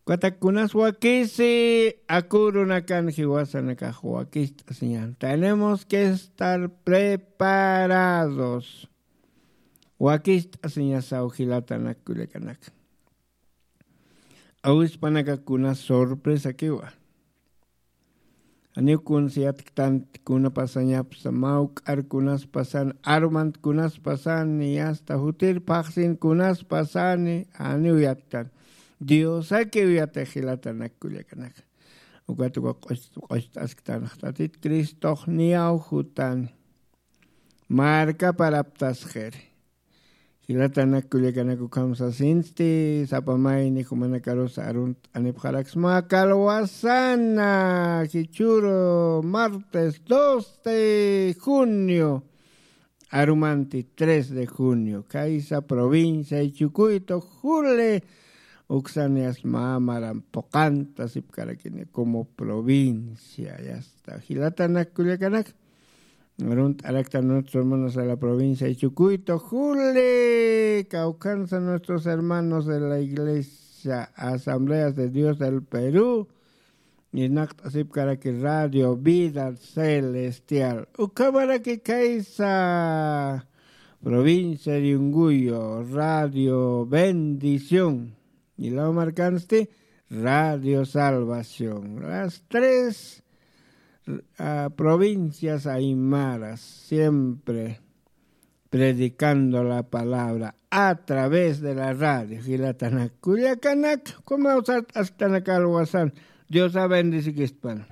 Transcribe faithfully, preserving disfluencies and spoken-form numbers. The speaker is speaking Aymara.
Ukatak kunas wakisi, akurunakan jiwasanakax wakist'asiñan. Tenemos que estar preparados. Wakist'asiñasaw jilatanak kullakanak. Awispanaka kunas sorpresakiwa. Janiw kuns yatktant kuna pasañapsa, mawk'ar kunas pasani, armant kunas pasani, yasta jutir phaxsin kunas pasani, janiw yatkan. Diosakiw yatix jilatanak kullakanak. Ukat uka q'ucht'asktanxtatit Cristox niyaw jutani. Markaparaptasxiri. Jilatanak kullakanak ukham sasinsti, sapa mayni jumanakarus arunt'anipxaraksma kalwasana, jichhüru martes dos de junio, arumanti tres de junio, khaysa provincia Chucuito, juli, uksan yasta mä maran puqanta sipkarakini como provincia, yasta. Jilatanak kullakanak, arunt'araktan nuestros hermanos de la provincia de Chucuito, juli, kawkhansa nuestros hermanos de la iglesia Asambleas de Dios del Perú, irnaqt'asipkaraki Radio Vida Celestial. Ukhamaraki khaysa provincia de Yunguyo, Radio Bendición. Jilaw markansti, Radio Salvación. Las tres, ah, provincias aymaras, siempre predicando la palabra a través de la radio. Jilatanak kullakanak, como usar hasta la calvasan. Dios ha bendecido que están.